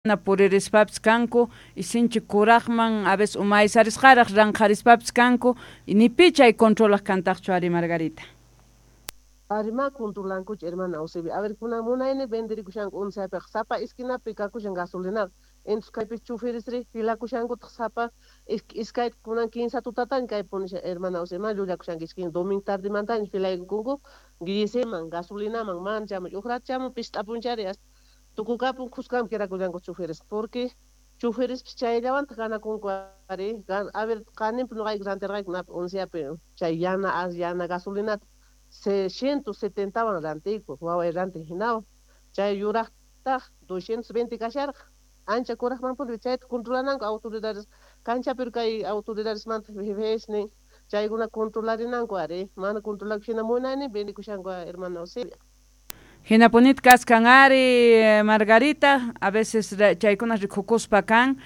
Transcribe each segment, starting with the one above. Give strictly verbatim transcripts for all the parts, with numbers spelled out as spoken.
Puririspapis kanku y sinchi kuraqman a veces umaysarisqaraq ranqharispapis kanku y ni pi chay controlaq kantaqchu ari, Margarita. Ari, ma controlankuchu, hermana Eusebia. A ver, kunan munayni vendirikushanku onceapiqa, sapa esquinapi kakushan gasolinaqa. Entonces kaypi choferesri filakushankutaq sapa iskay kunan kinsa tutataña kay punishan, hermana Eusebia, ma llullakushankichik, domingo tardemantaña filaykunku guiseman, gasolinaman, man chamuch, uq rato chamun pist'apunchari tukukapun khuskanpi quedakullanku choferes, porque choferespis chayllawantaq ganakunku ari. A ver, qaninpi nuqayku rantirqayku napi onceapi chay yana yana gasolinata ciento setentawan rantiyku, waway rantin hinawan, chay yuraqtaq doscientos veinte kasharqa, ancha kuraqmanpuni. Chayta controlananku autoridades kanchapi, kay autoridadesmanta jefes nin chaykuna controlarinanku ari, mana controlakushina munaynin vendikushanku, hermana Eusebia. Hinapunit kaskan ari, Margarita, a veces chaykuna rikukuspa kan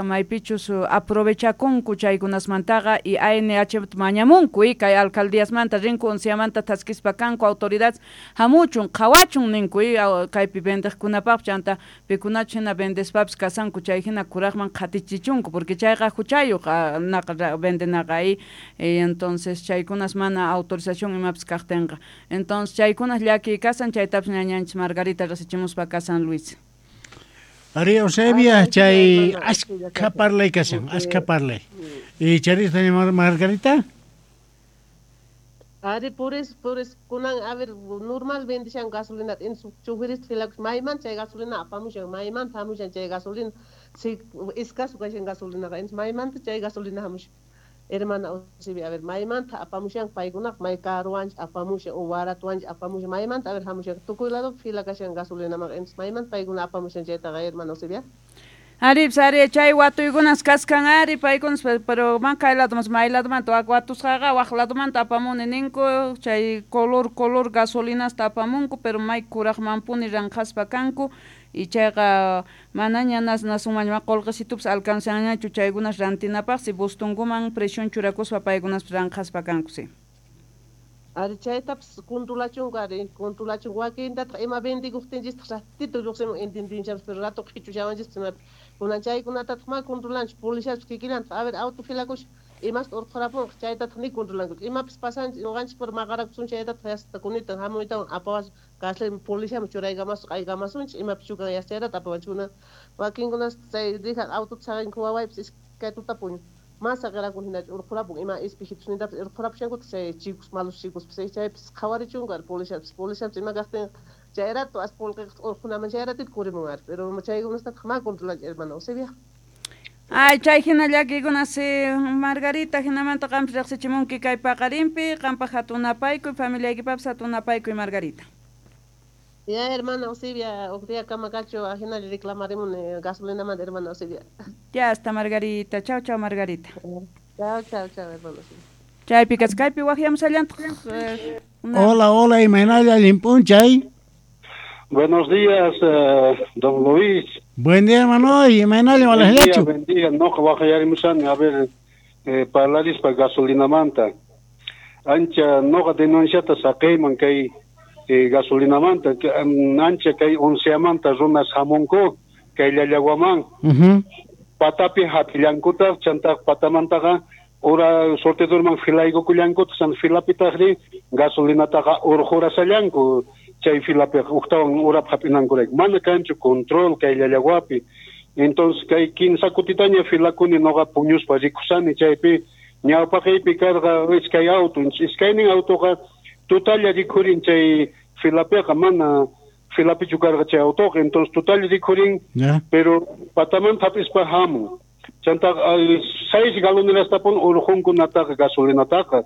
maypichus aprovechakunku chaykunasmantaqa y A N H mañamunku y kay alcaldíasmanta rinku unciamanta thaskispa kanku autoridades hamuchun qhawachun ninku y kaypi vendeqkunapaq chanta pikunachus hina vendespapis kasanku chay hina kuraqman qhatichichunku porque chayqa huchayuq naqa vendenaqa y entonces chaykunas mana autorización imapis kaqtinqa. Entonces chaykunas llakiy kasan, chaytapis ñañanchis Margarita rasichimuspa kasan, Luis. Ari, Eusebia, chay askha parlay kashan, askha parlay. Y charista Margarita? Ari, por eso, por eso, kunan, a ver, normal vendishan gasolina, en su choferes filakus, mayman chay gasolina apamushan, mayman hamushan chay gasolina, si escaso kashan gasolina, maymanta chay gasolina hamushan. Hermana Eusebia, a ver, maymanta apamushan paykunaqa, may karuwanchik apamushan o waratuwanchik apamushan, maymanta, a ver, hamushan, tukuy lado fila kashan gasolinaman, entonces maymanta paykuna apamushan chaytaqa, hermana Eusebia? Ari, ari, chay watuykunas kaskan ari paykunas, pero man kay ladomas may ladomanta wak watusqaqa waq ladomanta apamuni ninku, chay color color gasolinasta apamunku, pero may kuraqmanpuni ranqhaspa kanku y chayqa manaña nas nasunmanña qullqisitupas alcanzanñachu chaykunas rantinapaq si bustunkuman presión churakuspa paykunas ranqhaspa kanku, sí. Ari, chaytapas controlachunku ari, controlachunku wakintataq ima vendikuqtinchistaq ratito lluqsimun entendinchapas, pero rato qhichushawanchis imapi kunan chaykunatataq ma controlanchu policiapas kikillantaq. A ver, auto filakusha imasta urqhurapunqa chaytataq ni controlankuchu, imapis pasanchik ñuqanchik por maqarakusun chaytataq yasta kunitan hamuytawan apawasun cárcel policiaman churaykamasun qaykamasunchik imapis chukan yasta chayrata apawanchik. Kunan wakinkunas chay dejan autota saqinku, wawaypis iskay tuta puñun ma saqirakun hinachu urqhurapun ima espejitos urqhurapushankutaq chay chicos malos chicos chaypis qhawarichunku ari policiapis policiapis ima kaqtin chay rato as qullqi urqhunaman chay ratito kurimun ari, pero chaykunastataq ma controlanchik, hermana Eusebia. Ay, chay hina llakikuna si, Margarita, hinamanta qampis riqsichimunki kay paqarinpi, qampaq hatun napaykuy, familiaykipapis hatun napaykuy, Margarita. Ya, hermana Eusebia, huk día kamakachu ajinalla reclamarimuni gasolinamanta, hermana Eusebia. Ya está, Margarita. Chao, chao, Margarita. Chao, chao, chao, hermana Eusebia. Chaypi kachkaypi waqyamusallantaq. Hola, hola, imaynalla, allin p'unchay. Buenos días, eh, don Luis. Buen día, hermano, imaynalla. Buen día, walallachu. Buen día. No, waqyarimusani, a ver, eh, parlarispa gasolinamanta. Ancha noqa denunciata saqiyman kay eh, gasolinamanta, que, um, ancha kay onceamanta runas hamunku kay Llallawaman. Uh Patapi hap'illankutaq, chantaq patamantaqa ura surtidorman filaykukullankuta, chan filapitaqri gasolinataqa urqurasallanku chay filapiqa uktawan urap hap'inankurayku. Mana kanchu control kay Llallawapi. Entonces kay kinsa kutitaña filakuni noqa puñuspa rikusani chaypi ñawpaqiypi karqa iskay auto, iskaynin autoqa tutalla rikhurin chay filapiqa, mana filapichu karqa chay autoqa, entonces tutalla rikhurin, Ya. pero patamanta hap'ispa hamun. Chanta seis galonerastapun urqunkunataqa gasolinataqa.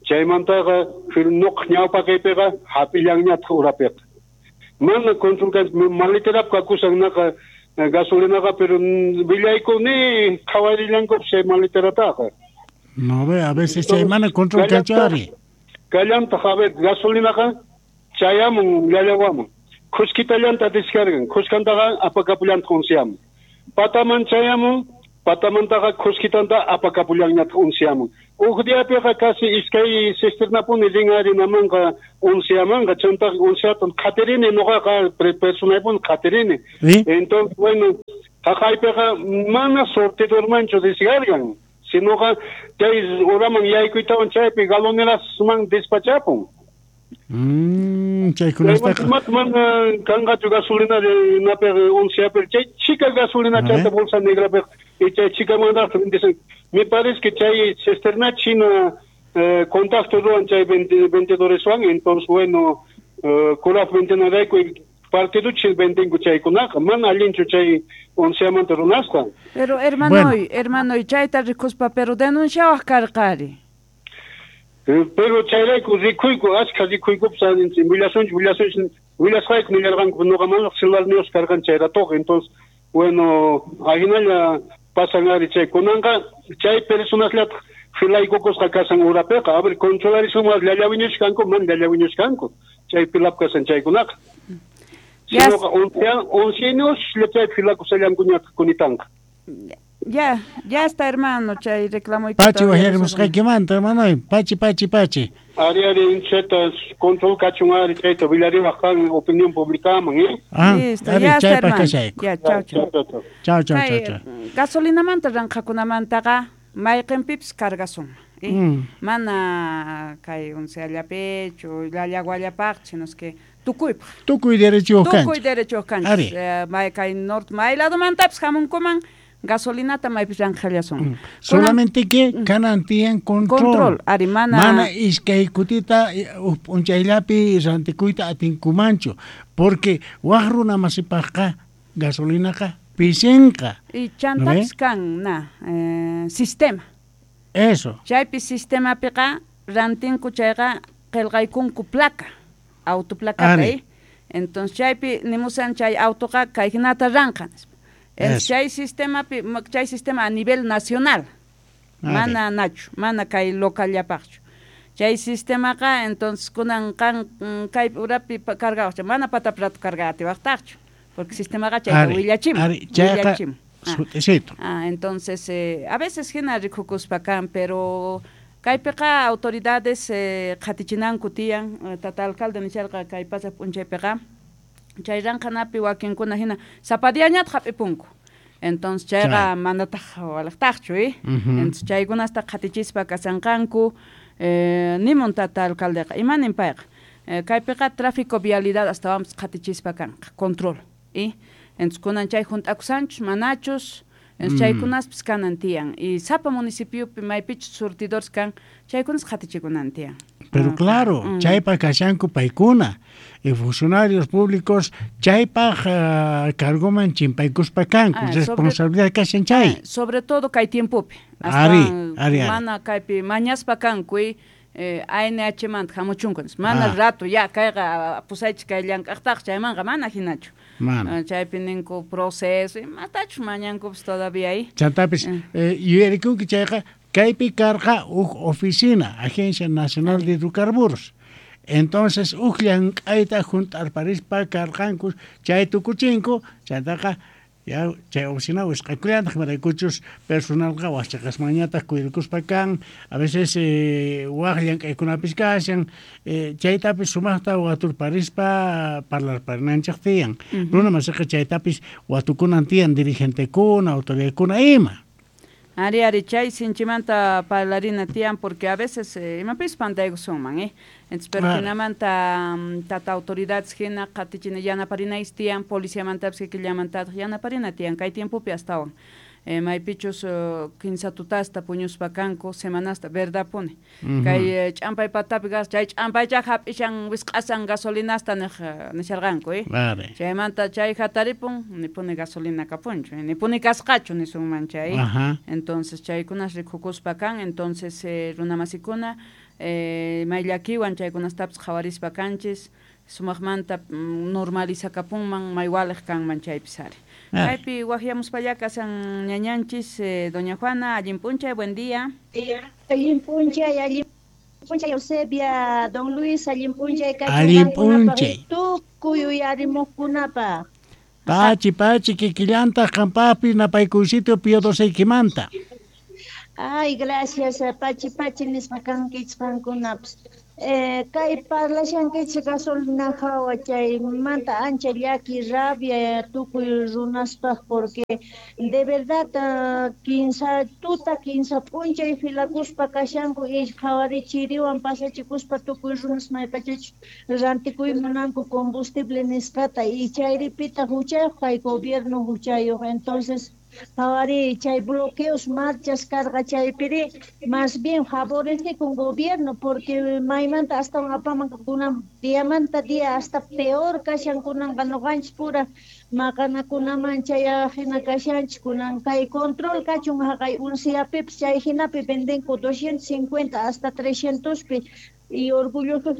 Chaymantaqa fil nuq ñawpaqiypiqa hap'illanñataq urapiqa. Mana control kan maleterap kakusan naqa gasolinaqa, pero willayku ni qhawarillanku chay maleterataqa. No ve, a veces chay mana control kanchu ari. Kallantaq, a ver, gasolinaqa chayamun Llallawaman. Khuskitallanta descargan, khuskantaqa apakapullantaq unciaman. Pataman chayamun, patamantaqa khuskitanta apakapullanñataq unciaman. Uj diapiqa casi iskay cisternapuni rin harinamanqa onceamanqa chantaq onceatan qhatirini noqaqa personaypuni qhatirini. Entonces bueno, haqaypiqa mana sortidormanchu descargan, sinoqa chay uraman yaykuytawan chaypi galonerasman despachapun. Mm, chaykunataqa mana kanqachu gasolina napiq onceapi chay chica gasolina chanta bolsa negrapiq y chay chicamantaqa vendisan. Me parece que chay cisterna china eh, contacto ruwan chay vendedoreswan, entonces bueno, eh, kuraq vendenarayku partido chil vendinku chaykunaqa mana allinchu chay onceamanta runasqa. Pero hermano, bueno. hermano, chayta rikuspa pero denunciawaq karqari. Pero chayrayku rikuyku achka rikuykupas willasunchik willasunchik willasqayku nillarqanku noqa mana celular niyuq karqan chayratoqa. Entonces bueno, ahinalla pasan ari chay kunanqa chay personaslataq filaykukusqa kasan urapiqa a ver controlarisunman llallawiñushkanku mana llallawiñushkanku chay filap kasan chaykunaqa. Sinoqa once años chay filakusallankuñataq kunitanqa. Ya, ya está, hermano, chay reclamo. Pachi wajarimusqaykimanta, hermano, pachi, pachi, pachi. Ari, ari, cheta, control kachun ari, chayta, willariwaq kan opinión publicaman, ¿eh? Ah, listo, ari, ya está, chaypaq hermano. kashayku. Ya, chao, chao. Chao, chao, chao, chao. Gasolinamanta ranqhakunamantaqa mayqinpipis cargasunman. ¿Eh? Mm. Mana kay onceallapichu, llallaguallapaq, sino es que tukuypaq. Tukuy derechuyuq kanchik. Tukuy derechuyuq kanchik. Ari. Eh, may kay norte, may ladomantapis hamunkuman gasolinata maypis ranqhallasun. Mm. Solamente que mm. kanan tiyan control. Control, ari mana mana iskay kutita uj p'unchayllapi rantikuyta atinkumanchu, porque waq runa masipaqqa gasolinaqa pisinqa. Y chantapis kan na eh, sistema. Eso. Chaypi sistemapiqa rantinku chayqa qillqaykunku placa, autoplacata, ¿eh? Entonces chaypi nimusan chay autoqa kayhinata ranqa. El chay sistema chay sistema a nivel nacional. Mana nachu, mana kay locallapaqchu. Chay sistemaqa entonces kunan qan kay urapi cargawaq, mana pataprato carga atiwaqtaqchu, porque sistemaqa chayta willachimun. Chayqa sut'isito. Ah, entonces eh, a veces hina rikukuspa kan, pero kaypiqa autoridades eh, qhatichinanku tiyan, tata alcalde nisharqa kay pasaq p'unchaypiqa chay ranqhanapi wakinkuna hina sapadiañataq hap'ipunku. Entonces chayqa manataq walaqtaqchu, eh? Entonces chaykunasta qhatichispa kasanqanku, eh, nimun tata alcaldeqa imanin payqa eh, kaypiqa tráfico vialidad astawanpis qhatichispa kanqa control, eh? Entonces kunan chay hunt'akusanchus manachus, entonces chaykunaspis kanan tiyan y sapa municipiopi maypichus surtidores kan chaykunas qhatichikunan tiyan. Pero ah, claro, mm. chaypaq kashanku paykuna y funcionarios públicos chaypaq uh, cargoman chimpaykuspa kanku, ah, responsabilidad kashan chay. Ah, sobre todo kay tiempopi. Ari, ari, ari. Mana kaypi mañaspa kanku y eh, A N H manta hamuchunku, mana ah. rato ya kayqa pusaychik kay llank'aqtaq chaymanqa mana hinachu. Mana. Chaypi ninku proceso, imatachus mañankupis todavía ahí. Chantapis, eh. eh, yuyarikunki chayqa kaypi karqa uj oficina, Agencia Nacional de Hidrocarburos. Entonces uj llank'ayta hunt'arparispa karqanku chay tukuchinku, chantaqa ya chay oficina wisq'akullantaq maraykuchus personalqa waqchaqasmanñataq kuyrikuspa kan, a veces eh, waq llank'aykunapis kashan, eh, chaytapis sumaqta waturparispa parlarparinanchik tiyan. Uh-huh. Runa masiqa chaytapis watukunan tiyan dirigentekuna, autoridadkuna ima. Ari, ari, chay sinchimanta parlarina tiyan, porque a veces eh, imapis pantaykusunman, eh? Entonces, pero Claro. hinamanta tata autoridades hina qhatichina yanaparinaysi tiyan, policiamantapis kikillamantataq yanaparina tiyan, kay tiempopi astawan. Eh, maypichus uh, kinsa tutasta puñuspa kanku, semanasta, verdapuni. Uh-huh. Kay eh, ch'ampay patapi gas, chay ch'ampaycha hap'ishan wisq'asan gasolinasta niq nisharqanku, eh? Vale. Chaymanta chay hataripun, nipuni gasolina kapunchu, nipuni kasqachu nisunman chay. Ajá. Entonces chaykunas rikukuspa kan, entonces eh, runamasikuna eh, mayllakiwan chaykunastapis qhawarispa kanchis, sumaqmanta mm, normalizakapunman maywaliq kanman chaypis ari. Ari. Kaypi waqyamuspalla kasan ñañanchis, eh, doña Juana, allin p'unchay, buen día. Allin p'unchay, allin p'unchay Eusebia, don Luis, allin p'unchay Allin kachunqankunapaq p'unchay. tukuy uyarimuqkunapaq. Pachi, pachi, kikillantaq qampaqpis napaykuysitio Pío doceykimanta. Ay, gracias, pachi pachi nisqa kankichik qankunapas. Eh, kay parlashankichik gasolina hawa chaymanta ancha llaki rabia tukuy runaspaq porque de verdad uh, kinsa tuta kinsa p'unchay filakuspa kashanku y qhawari chiriwan pasachikuspa tukuy runas maypachachus rantikuy munanku combustible nisqata y chayripita huchayuq kay gobierno huchayuq entonces qhawari chay bloqueos marchas karqa chaypiri más bien favorece con gobierno porque maymanta astawan apaman kunan diamanta día hasta peor kashan kunanqa nuqanchik pura maqanakunaman chayajina kashanchik kunan kay control kachun haqay unciapipis chay hinapi vendenku doscientos cincuenta hasta trescientos pi y orgullosos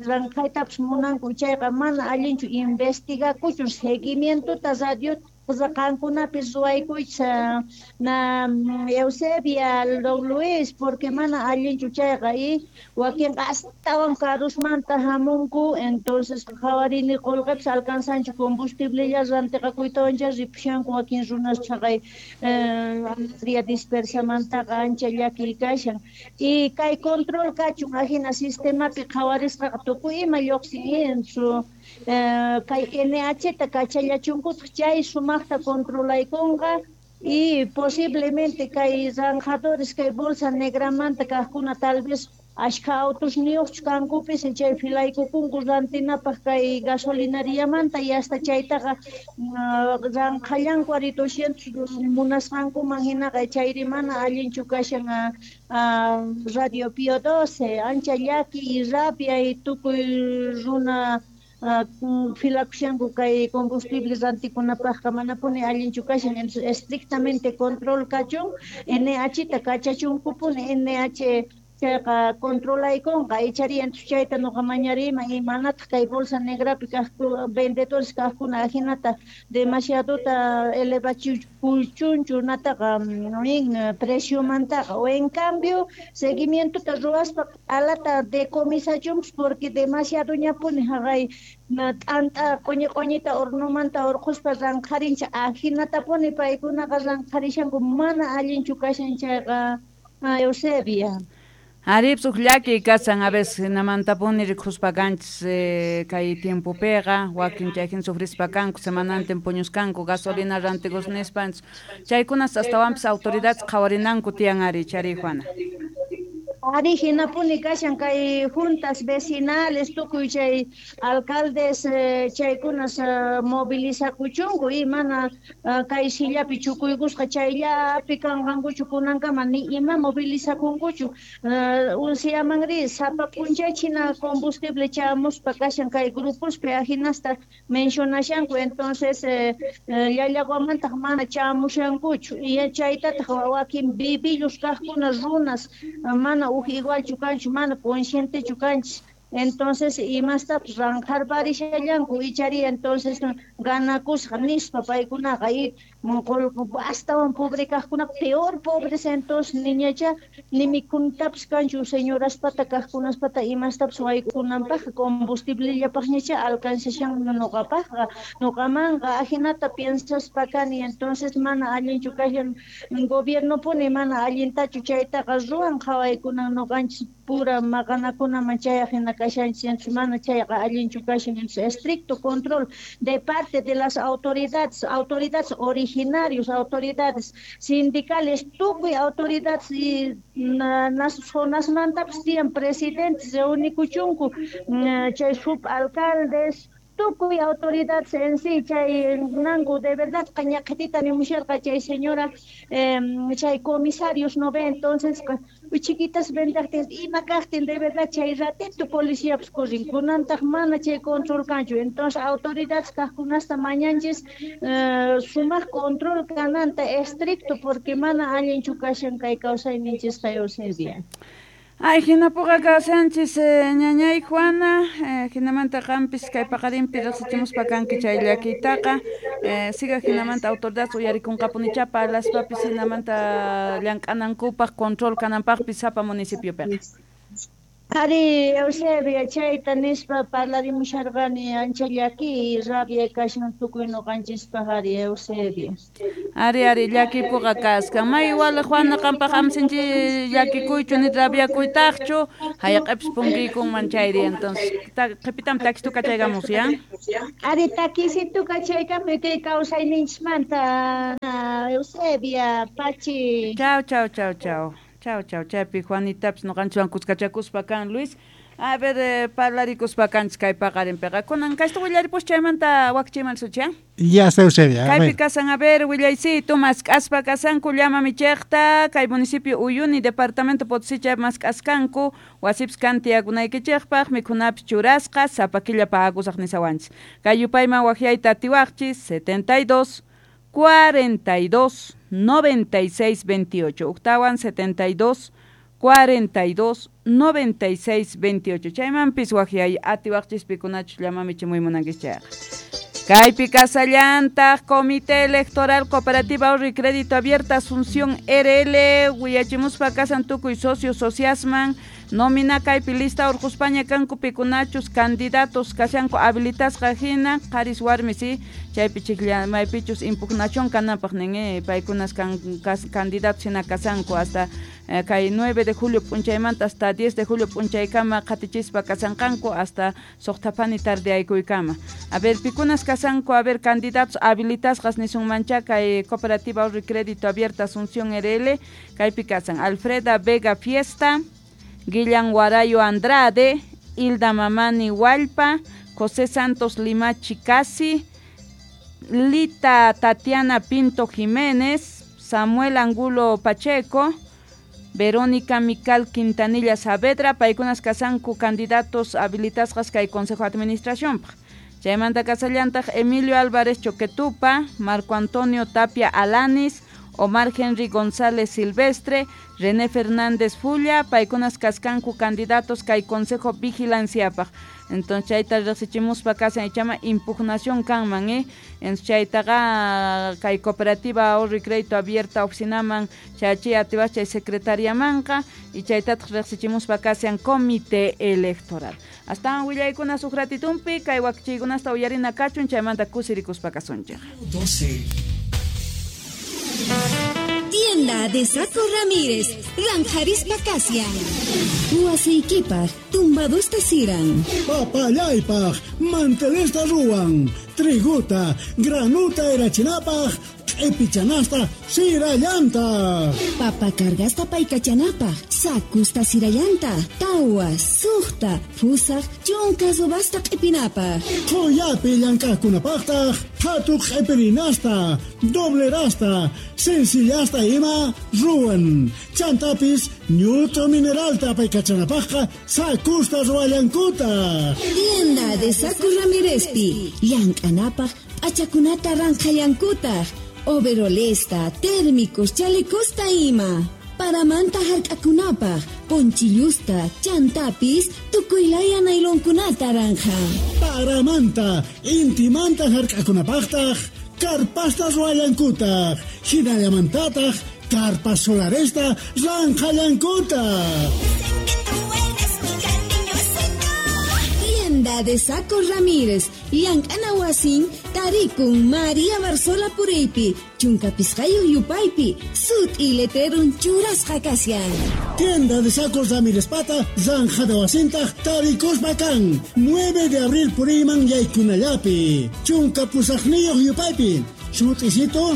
ranqaytapas munanku chayqa mana allinchu investigakuchun seguimientota radio qankunapis ruwaykuychis na Eusebia, don Luis, porque mana allinchu chayqa y wakinqa astawan karusmanta hamunku entonces qhawarini qullqipis alcanzanchu combustiblella rantiqakuytawancha ripushanku wakin runas chhaqay área dispersamantaqa ancha llakiy kashan y kay control kachun ajina sistemapi qhawarisqaqa tukuy ima lluqsin su kay N H ta kachallachunkutaq chay sumaqta controlaykunqa y posiblemente kay zanjadores kay bolsa negramanta kaqkuna tal vez ashka autos niyuqchu kankupis chay filaykukunku rantinapaq kay gasolinariamanta y hasta chaytaqa ranqallanku ari doscientos munasqankuman hinaqa chayri mana allinchu kashan Radio Pío doce ancha llaki y rabia y tukuy runa filakushanku kay combustible rantikunapaqqa manapuni allinchu kashan entonces estrictamente control kachun N H ta kachachunkupuni N H chayqa controlaykunqa ichari entonces chayta nuqa mañariman y manataq kay bolsa negrapi kaq vendedores kaqkuna ajinata demasiadota elevachikuchunchu nataqa nin preciomantaqa o en cambio seguimientota ruwaspa alata decomisachunpis porque demasiadoñapuni haqay t'anta q'uñi q'uñita hornomanta hurquspa ranqharinchik ajinatapuni paykunaqa ranqharishanku mana allinchu kashan chayqa Eusebia. Arips uq llaki kasan a veces hinamantapuni rikuspa kanchis eh, kay tiempopiqa wakin chayhin sufrispa kanku semanantin puñuskanku gasolina rantikus nispanchis chaykunas astawanpis autoridades qhawarinanku tiyan ari chari Juana. Ari hinapuni kashan kay juntas vecinales tukuy chay alcaldes eh, chaykunas eh, movilizakuchunku y mana eh, kay sillapi chukuykusqa chayllapi kanqankuchu kunankama ni ima movilizakunkuchu eh, unciamanri sapa p'unchaychina combustible chamuspa kashan kay grupospi ajinasta mencionashanku entonces eh, eh, llallaguamantaq mana chamushankuchu y chaytataq wakin bibillus kaqkuna runas mana uj igualchu kanchu mana conscientechu kanchis entonces imastapas ranqharparishallanku ichari entonces ganakusqa nispa paykunaqa y astawan pobre kaqkuna peor pobres entonces niñacha ni mikhuntapas kanchu señoraspata kaqkunaspata imastapas waykunanpaq combustiblellapaqñacha alcanzashan nuqapaqqa nuqamanqa ajinata piensaspa kani entonces mana allinchu kashan gobiernopuni mana allintachu chaytaqa ruwan qhawaykunan nuqanchis pura maqanakunaman chayaq hina kashanchis mana chayqa allinchu kashan estricto control de parte de las autoridades autoridades originarios autoridades sindicales tukuy autoridades y nas zonasmantapas tiyan presidentes reunikuchunku chay subalcaldes tukuy autoridades en sí chay nanku de verdad ñaqitita nimusharqa chay señora eh, chay comisarios no ve entonces chiquitas vendaqtin ima kaqtin de verdad chay ratito policiapas corrin kunantaq mana chay control kanchu entonces autoridades kaqkunasta mañanchis eh, sumaq control kananta estricto porque mana allinchu kashan kay kawsayninchisqa Eusebia. Ay, hinapuqa kashanchis eh, ñañay Juana, eh, hinamanta qampis kay paqarinpi riqsichimuspa kanki chay llakiytaqa, eh, siga hinamanta autoridades uyarikunqapunicha parlaspapis hinamanta llank'anankupaq control kananpaqpis sapa municipiopiqa. Ari, Eusebia, chayta nispa parlarimusharqani ancha llaki rabia kashan tukuy ñuqanchispaq ari Eusebia. Ari, ari, llakipuqa kaskan. May igual Juana qampaq amsinchi llakikuychu ni rabiakuytaqchu, hayaq'ipis punkiykunman chayri entonces. Qhipitam takistu kachaykamus, ya? Ari, takisitu kachaykamuy kay kawsayninchismanta, Eusebia, Pachi. Chao, chao, chao, chao. Chao, chao, chaypi Juanitapis ñuqanchikwan kuskachakuspa kan Luis. A ver, eh, parlarikuspa kanchis kay paqarinpiqa. Kunan kaysta willaripus chaymanta wakchiyman sucha. Ya está Eusebia. Kaypi kasan, a ver, willaycito, mask'aspa kasanku llama michiqta, kay municipio Uyuni, departamento Potosí chay mask'askanku, wasipis kan tiyakunaykichikpaq, mikhunapis churasqa, sapa killa pagakusaq nisawanchis. Kay yupayman waqyayta atiwaqchis, setenta y dos, cuarenta y dos, noventa y seis, veintiocho. Octawan setenta y dos, cuarenta y dos, noventa y seis, veintiocho. Chaymanpis waqyay atiwaqchis pikunachus llamamichimuy munankichis chayqa. Kaypi kasallantaq Comité Electoral Cooperativa Ahorro y Crédito Abierta Asunción R L willachimuspa kasan tukuy socios sociasman nómina kaypi lista urquspaña kanku pikunachus candidatos kashanku habilitasqa hina qaris warmis y chaypi chiklla maypichus impugnación kananpaq nin eh, paykunas kan, kas, candidatos hina kasanku hasta eh, kay nueve de julio p'unchaymanta hasta diez de julio p'unchaykama qatichispa kasanqanku hasta suqtapani tardeaykuykama. A ver, pikunas kasanku, a ver, candidatos habilitasqas nisunmancha kay Cooperativa Ahorro y Crédito Abierta Asunción R L kaypi kasan Alfreda Vega Fiesta, Guillan Guarayo Andrade, Hilda Mamani Hualpa, José Santos Limachi Casi, Lita Tatiana Pinto Jiménez, Samuel Angulo Pacheco, Verónica Mical Quintanilla Saavedra, paykunas kasanku candidatos habilitasqas kay Consejo de Administración. Chaymanta kasallantaq Emilio Álvarez Choquetupa, Marco Antonio Tapia Alanis, Omar Henry González Silvestre, René Fernández Fulla, paykunas kaskanku candidatos kay Consejo Vigilanciapaq. Entonces chayta riqsichimuspa kasan ichama impugnación kanman, eh? Entonces chaytaqa kay Cooperativa Ahorro y Crédito Abierta oficinaman chachi atiwas chay secretariamanqa y chaytataq riqsichimuspa kasan Comité Electoral. Hasta willaykunas huk ratitumpi kay wakchiykunasta uyarina kachun chaymanta kusirikuspa kasunchik. doce. Tienda de Saco Ramírez, Ranjarispa Casia. Huasiquipaj, tumbadusta siran. Papayaypaj, mantelesta ruan. Triguta, granuta erachinapaj, epichanasta, sirayanta. Papa cargasta paikachanapaj, sacusta sirayanta, tawa, suqta, fusaj, chunka subasta q'ipinapaj. Qoyapi llank'aqkunapaqtaq, phatu q'ipirinasta, doblerasta, sencillasta ima ruwan. Chantapis, ñut'u mineralta paykachanapaqqa, sacusta ruwallankuta. Tienda de Saco Ramírezpi, llank'anapaq, p'achakunata ranqhallankutaq. Overolesta, térmicos, chalecosta ima. Paramanta hark'akunapaq, ponchillusta, chantapis, tukuylaya nailonkunata ranja. Paramanta, intimanta hark'akunapaqtaq, karpasta ruwallankutaq, hinallamantataq, karpas solaresta ranqhallankutaq. Tienda de Saco Ramírez, llank'ana wasin, tarikun María Barzola Puriypi, chunka pisqayuq yupaypi, sut'i letrerun churasqa kashan. Tienda de Sacos Ramírez Pata, Zanja de Wasintaq, tarikuspa kan, nueve de abril puriyman yaykunallapi, chunka pusaqniyuq yupaypi, sut'isito,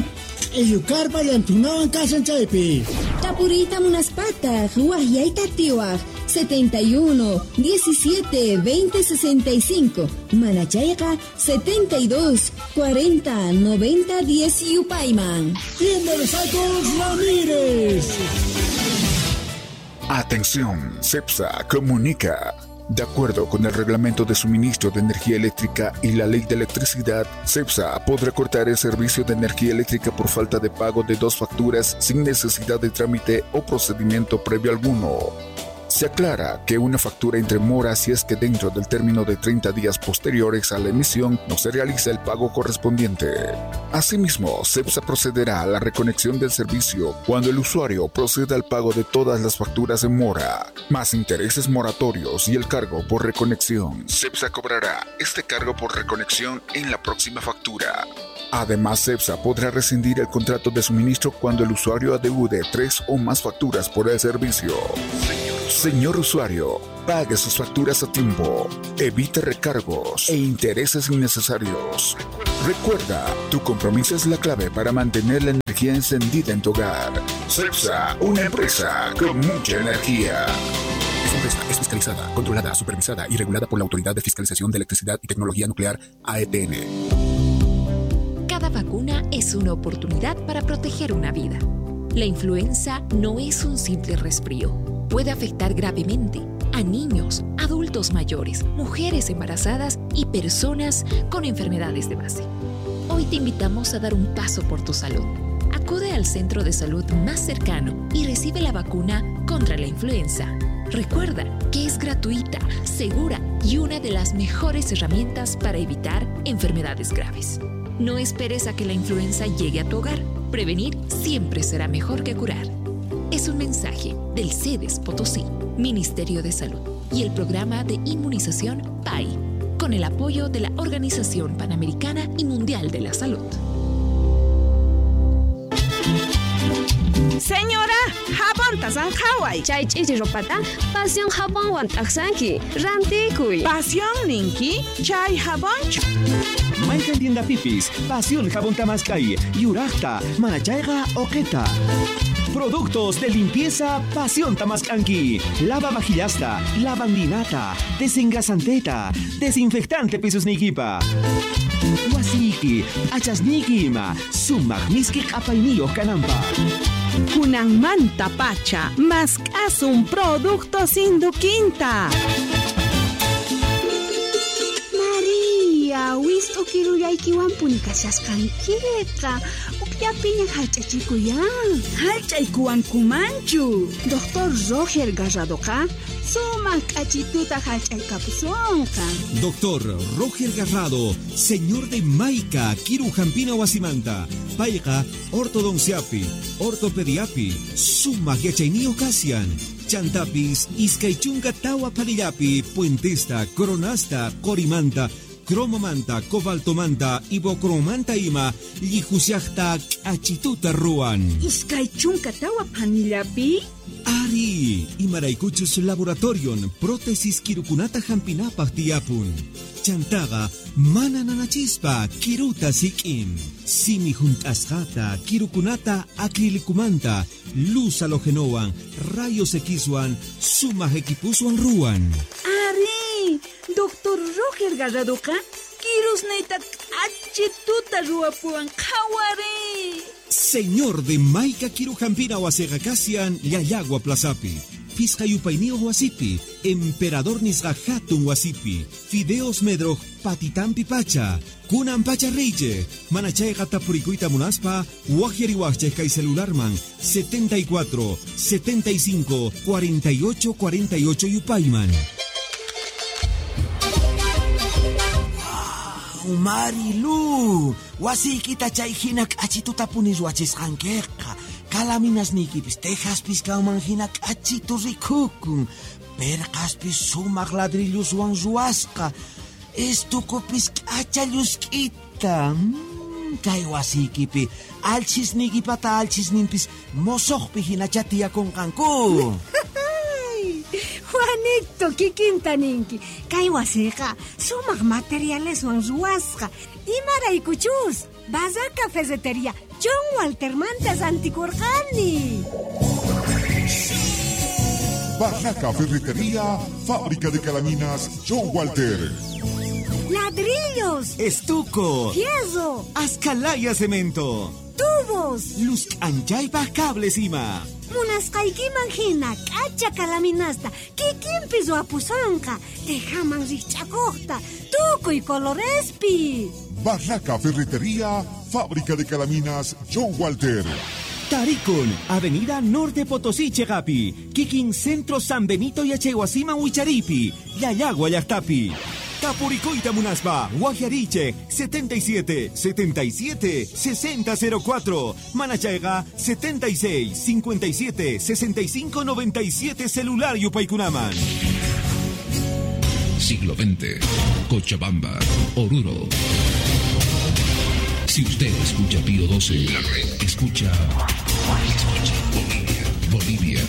q'illukarpa llantunawan kashan chaypi. Tapuriyta munaspataq, waqyayta atiwaq, setenta y uno, diecisiete, veinte, sesenta y cinco. Manachayqa, setenta y dos, cuarenta, noventa, diez yupayman. Tienda de Sacos Ramírez. Atención, CEPSA comunica. De acuerdo con el Reglamento de Suministro de Energía Eléctrica y la Ley de Electricidad, CEPSA podrá cortar el servicio de energía eléctrica por falta de pago de dos facturas sin necesidad de trámite o procedimiento previo alguno. Se aclara que una factura entre mora si es que dentro del término de treinta días posteriores a la emisión no se realiza el pago correspondiente. Asimismo, CEPSA procederá a la reconexión del servicio cuando el usuario proceda al pago de todas las facturas en mora, más intereses moratorios y el cargo por reconexión. CEPSA cobrará este cargo por reconexión en la próxima factura. Además, CEPSA podrá rescindir el contrato de suministro cuando el usuario adeude tres o más facturas por el servicio. Señor usuario, pague sus facturas a tiempo, evite recargos e intereses innecesarios. Recuerda, tu compromiso es la clave para mantener la energía encendida en tu hogar. CEPSA, una empresa con mucha energía. Esta empresa es fiscalizada, controlada, supervisada y regulada por la Autoridad de Fiscalización de Electricidad y Tecnología Nuclear, A E T N. Cada vacuna es una oportunidad para proteger una vida. La influenza no es un simple resfrío. Puede afectar gravemente a niños, adultos mayores, mujeres embarazadas y personas con enfermedades de base. Hoy te invitamos a dar un paso por tu salud. Acude al centro de salud más cercano y recibe la vacuna contra la influenza. Recuerda que es gratuita, segura y una de las mejores herramientas para evitar enfermedades graves. No esperes a que la influenza llegue a tu hogar. Prevenir siempre será mejor que curar. Es un mensaje del SEDES Potosí, Ministerio de Salud y el programa de inmunización P A I, con el apoyo de la Organización Panamericana y Mundial de la Salud. Señora, jabón tasanjaway. Chay ch'ichi ropata, pasión jabonwan t'aqsanki, rantikuy. Pasión ninki, chay jabonchu. Mayqan tienda pipis, pasión jabón tamaskay, yuraqta, manachayqa oqeta. Productos de limpieza Pasión Tamascanqui. Lava vajillasta, lavandinata, desengrasanteta, desinfectante pisos nikipa. Wasiki, achasniki ima, sumaq miski q'apayniyuq kananpaq. Kunanmanta pacha, mask'asun productos induquinta. María, wist'u kirullaykiwanpuni kashasqankiqa. Upyapiña hallch'achikuyan. Hallch'aykuwankumanchu. Doctor Roger Garradoqa sumaq k'achituta hallch'aykapusunqa. Doctor Roger Garrado, señor de Maica, Kiru Jampina Wasimanta, Payqa, ortodonciapi, ortopediapi, sumaq yachayniyuq kasian. Chantapis, iskay chunka tawa panillapi, puentesta, coronasta, corimanta, cromomanta, cobaltomanta, ibocromanta ima, llihusiaqta k'achituta ruwan. Iskay chunka tawa panillapi? Ari, imaraykuchus laboratorion, prótesis kirukunata hampinapaq tiyapun. Chantaqa, mana nanachispa, kiruta sik'in. Simi hunt'asqata, kirukunata acrilicumanta, luz halogenowan, rayos Xwan, sumaq equipuswan ruwan. Ari, Doctor Roger Garradoqa, kirusniyta k'achituta ruwapuwan qhawari. Señor de Maica Kirujampina wasiqa kasian Llallagua Plazapi. Pisqa yupayniyuq wasipi, Emperador nisqa hatun wasipi, Fideos Medroj patitampi pacha, Kunan pacha reyche, manachayqa tapurikuyta munaspa, waqyariwaqchej kay celularman setenta y cuatro, setenta y cinco, cuarenta y ocho, cuarenta y ocho yupayman. Marilu, wasiykita chay hina k'achituta puni ruwachisqankiqa. Kalaminasniykipis tejaspis kanman hina k'achitu rikukun. Perqaspis sumaq ladrilluswan ruwasqa. Estukupis k'acha llusk'ita. Mm, kay wasiykipi alchisniykipata alchisninpis mosoqpi hinacha tiyakunqanku. Juanito, kikinta ninki. Kay wasiqa sumaq materialeswan ruwasqa. Imaraykuchus, Barraca Ferretería, John Walter mantas antikurqani. Barraca Ferretería, fábrica de calaminas John Walter. Ladrillos, estuco, fierro, ascalaya cemento, tubos, luz anchaypaq cables ima. Munasqaykiman hina k'acha kalaminasta kikinpi ruwapusunqa, tejaman rikch'akuqta, tukuy colorespi. Barraca Ferretería, fábrica de calaminas John Walter. Tarikun, Avenida Norte Potosí Chegapi, Kikin Centro San Benito Yachaywasiman Wicharipi, Llallagua llaqtapi. Tapurikuyta munaspa, Waqyariychik, setenta y siete, setenta y siete, sesenta cero cuatro, Manachayqa, setenta y seis, cincuenta y siete, sesenta y cinco, noventa y siete, celular yupaykunaman. Siglo veinte, Cochabamba, Oruro. Si usted escucha Pío doce, la red escucha, escucha Bolivia, Bolivia.